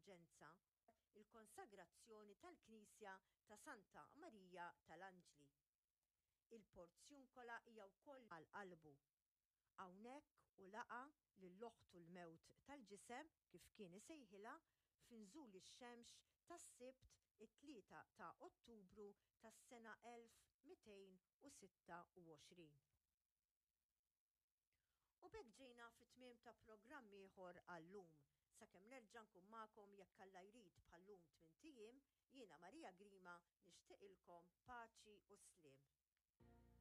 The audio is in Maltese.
l-indulġenza, il-konsagrazzjoni tal-knisja ta' Santa Marija tal-Anġli. Il-Porzjunkola hija wkoll għal qalbu. Hawnhekk hu laqa' lil oħtu l-mewt tal-ġisem, kif kien isejħilha, f'inżul ix-xemx tas-Sibt it-3 ta' Ottubru tas-sena 1226. U b'hekk ġejna fit-tmiem ta' programm ieħor għal-lum. Sakemm nerġa' nkun magħkom jekk Alla jrid bħal-lum tmint ijiem, jiena Maria Grima nixtieqilkom paċi u sliem.